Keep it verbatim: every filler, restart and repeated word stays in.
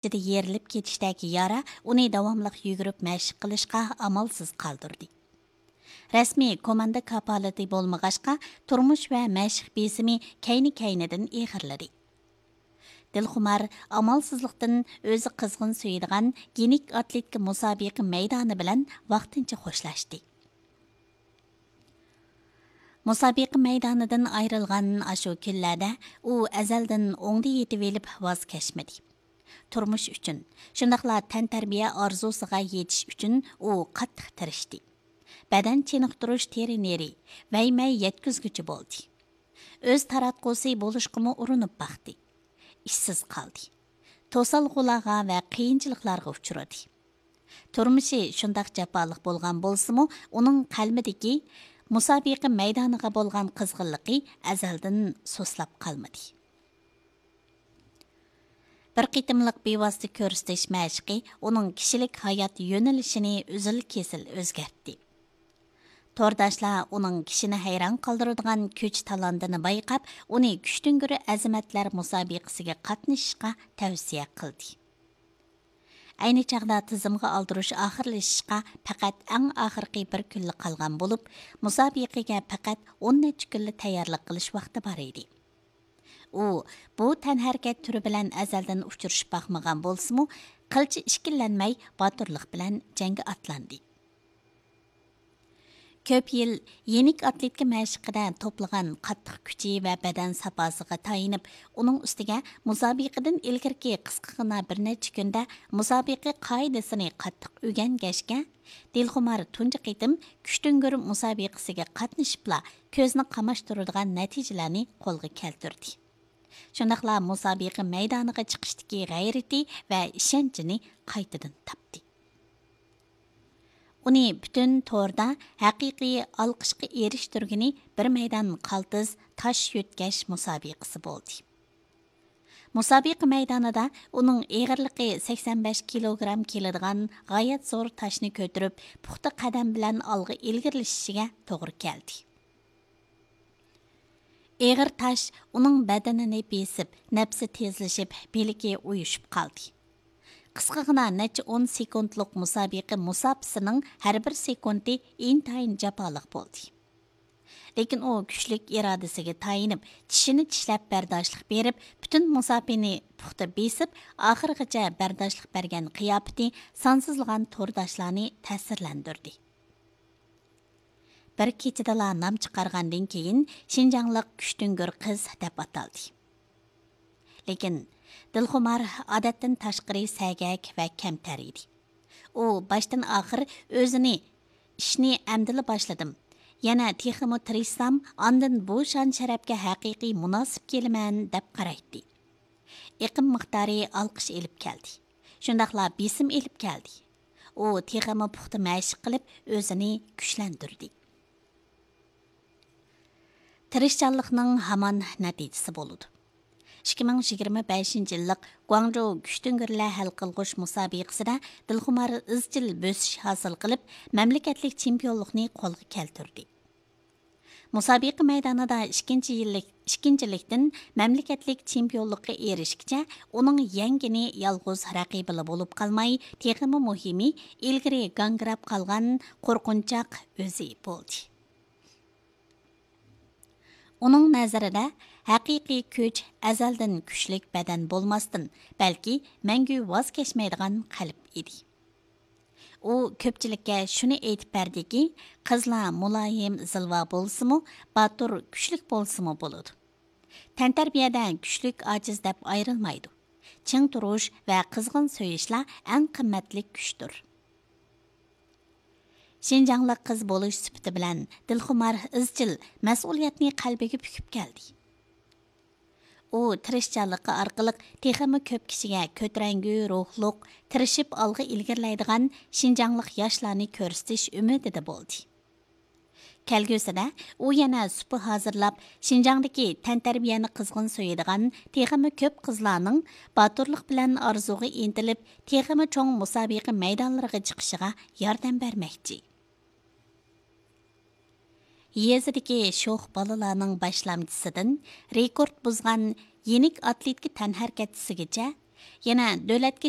ئىچىدە يېرىلىپ كېتىشتەك يارا ئۇنى داۋاملىق يۈگۈرۈپ مەشىق قىلىشقا ئامالسىز قالدۇردى. رەسمىي كوماندا كاپالىتى بولمىغاچقا، تۇرمۇش ۋە مەشىق بېسىمى كەينى-كەينىدىن ئېغىرلىدى. دىلخۇمار ئامالسىزلىقتىن ئۆزى قىزغىن سۆيىدىغان يېنىك ئاتلېتىكا مۇسابىقە مەيدانى بىلەن ۋاقتىنچە خوشلاشتى. مۇسابىقە مەيدانىدىن ئايرىلغان ئاشۇ كۈنلەردە ئۇ ئەزەلدىن ئوڭدا يېتىۋېلىپ ۋاز كەچمىدى. تۇرمۇش ئۈچۈن، شۇنداقلا تەنتەربىيە ئارزۇسىغا يېتىش ئۈچۈن ئۇ قاتتىق تىرىشتى. بەدەن چېنىقتۇرۇش ترېنېرى، ۋەيمەي يەتكۈزگۈچى بولدى. ئۆز تاراتقۇسى بولۇشقىمۇ ئۇرۇنۇپ باقتى. ئىشسىز قالدى. توسالغۇلارغا ۋە قىيىنچىلىقلارغا ئۇچرىدى. تۇرمۇشى شۇنداق جاپالىق بولغان بولسىمۇ، ئۇنىڭ قەلبىدىكى مۇسابىقە مەيدانىغا بولغان قىزغىنلىقى ئەزەلدىن سۇسلاپ قالمىدى. بىر قېتىملىق بىۋاسىتە كۆرسىتىش مەشىقى ئۇنىڭ كىشىلىك ھايات يۆنىلىشىنى ئۈزۈل-كېسىل ئۆزگەرتتى. تورداشلار ئۇنىڭ كىشىنى ھەيران قالدۇرىدىغان كۈچ-تالانتىنى بايقاپ، ئۇنى كۈچتۈڭگۈر ئەزىمەتلەر مۇسابىقىسىگە قاتنىشىشقا تەۋسىيە قىلدى. ئەينى چاغدا تىزىمغا ئالدۇرۇش ئاخىرلىشىشقا پەقەت ئەڭ ئاخىرقى بىر كۈنلا قالغان بولۇپ، مۇسابىقىگە پەقەت ئون نەچچە كۈنلا تەييارلىق قىلىش ۋاقتى بار ئىدى. ئۇ بۇ تەنھەرىكەت تۈرى بىلەن ئەزەلدىن ئۇچرىشىپ باقمىغان بولسىمۇ، قىلچە ئىككىلەنمەي باتۇرلۇق بىلەن جەڭگە ئاتلاندى. كۆپ يىل يېنىك ئاتلېتىكا مەشىقىدە توپلىغان قاتتىق كۈچى ۋە بەدەن ساپاسىغا تايىنىپ، ئۇنىڭ ئۈستىگە مۇسابىقىدىن ئىلگىرىكى قىسقىغىنا بىر نەچچە كۈندە مۇسابىقە قائىدىسىنى قاتتىق ئۆگەنگەچكە، دىلخۇمار تۇنجى قېتىم كۈچتۈڭگۈر مۇسابىقىسىگە قاتنىشىپلا كۆزنى قاماشتۇرىدىغان نەتىجىلەرنى قولغا كەلتۈردى. شۇنداقلا مۇسابىقە مەيدانىغا چىقىشتىكى غەيرىتى ۋە ئىشەنچىنى قايتىدىن تاپتى. ئۇنى پۈتۈن توردا ھەقىقىي ئالقىشقا ئېرىشتۈرگىنى بىر مەيدان قالتىس تاش يۆتكەش مۇسابىقىسى بولدى. مۇسابىقە مەيدانىدا ئۇنىڭ ئېغىرلىقى سەكسەن بەش كىلوگرام كېلىدىغان غايەت زور تاشنى كۆتۈرۈپ، پۇختا قەدەم بىلەن ئالغا ئىلگىرىلىشىشىگە توغرا كەلدى. ئېغىر تاش ئۇنىڭ بەدىنىنى بېسىپ، نەپسى تېزلىشىپ، بىلىكى ئۇيۇشۇپ قالدى. قىسقىغىنا نەچچە ئون سېكۇنتلۇق مۇسابىقە مۇساپىسىنىڭ ھەر بىر سېكۇنتى ئىنتايىن جاپالىق بولدى. لېكىن ئۇ كۈچلۈك ئىرادىسىگە تايىنىپ، چىشىنى چىشلەپ بەرداشلىق بېرىپ، پۈتۈن مۇساپىنى پۇختا بېسىپ، ئاخىرغىچە بەرداشلىق بەرگەن قىياپىتى سانسىزلىغان تورداشلارنى تەسىرلەندۈردى. بىر كېچىدىلا نام چىقارغاندىن كېيىن، شىنجاڭلىق كۈچتۈڭگۈر قىز دەپ ئاتالدى. لېكىن دىلخۇمار ئادەتتىن تاشقىرى سەگەك ۋە كەمتەر ئىدى. ئۇ باشتىن ئاخىر ئۆزىنى، «ئىشنى ئەمدىلا باشلىدىم. يەنە تېخىمۇ تىرىشسام، ئاندىن بۇ شان-شەرەپكە ھەقىقىي مۇناسىپ كېلىمەن» دەپ قارايتتى. ئېقىم مىقدارى ئالقىش ئېلىپ كەلدى. شۇنداقلا بېسىم ئېلىپ كەلدى. ئۇ تېخىمۇ پۇختا مەشىق قىلىپ، ئۆزىنى كۈچلەندۈردى. تىرىشچانلىقنىڭ ھامان نەتىجىسى بولىدۇ. ئىككى مىڭ يىگىرمە بەشىنچى يىللىق گۇاڭجۇ كۈچتۈڭگۈرلەر ھەل قىلغۇچ مۇسابىقىسىدە دىلخۇمار ئىزچىل بۆسۈش ھاسىل قىلىپ، مەملىكەتلىك چېمپىيونلۇقنى قولغا كەلتۈردى. مۇسابىقە مەيدانىدا ئىككىنچى يىللىك، ئىككىنچىلىكتىن مەملىكەتلىك چېمپىيونلۇققا ئېرىشكىچە، ئۇنىڭ يەڭگىنى يالغۇز رەقىبىلا بولۇپ قالماي، تېخىمۇ مۇھىمى، ئىلگىرى گاڭگىراپ قالغان قورقۇنچاق ئۆزى بولدى. ئۇنىڭ نەزىرىدە، ھەقىقىي كۈچ ئەزەلدىن كۈچلۈك بەدەن بولماستىن، بەلكى مەڭگۈ ۋاز كەچمەيدىغان قەلب ئىدى. ئۇ كۆپچىلىككە شۇنى ئېيتىپ بەردىكى، قىزلار مۇلايىم، زىلۋا بولسىمۇ، باتۇر، كۈچلۈك بولسىمۇ بولىدۇ. تەنتەربىيەدە كۈچلۈك، ئاجىز دەپ ئايرىلمايدۇ. چىڭ تۇرۇش ۋە قىزغىن سۆيۈشلا ئەڭ قىممەتلىك كۈچتۇر. شىنجاڭلىق قىز بولۇش سۈپىتى بىلەن دىلخۇمار ئىزچىل مەسئۇلىيەتنى قەلبىگە پۈكۈپ كەلدى. ئۇ تىرىشچانلىقى ئارقىلىق تېخىمۇ كۆپ كىشىگە كۆتۈرەڭگۈ روھلۇق، تىرىشىپ ئالغا ئىلگىرىلەيدىغان شىنجاڭلىق ياشلارنى كۆرسىتىش ئۈمىدىدە بولدى. كەلگۈسىدە ئۇ يەنە سۇپا ھازىرلاپ، شىنجاڭدىكى تەنتەربىيەنى قىزغىن سۆيىدىغان تېخىمۇ كۆپ قىزلارنىڭ باتۇرلۇق بىلەن ئارزۇغا ئىنتىلىپ، تېخىمۇ چوڭ مۇسابىقە مەيدانلىرىغا چىقىشىغا ياردەم بەرمەكچى. يېزىدىكى شوخ بالىلارنىڭ باشلامچىسىدىن رېكورت بۇزغان يېنىك ئاتلېتىكا تەنھەرىكەتچىسىگىچە يەنە دۆلەتكە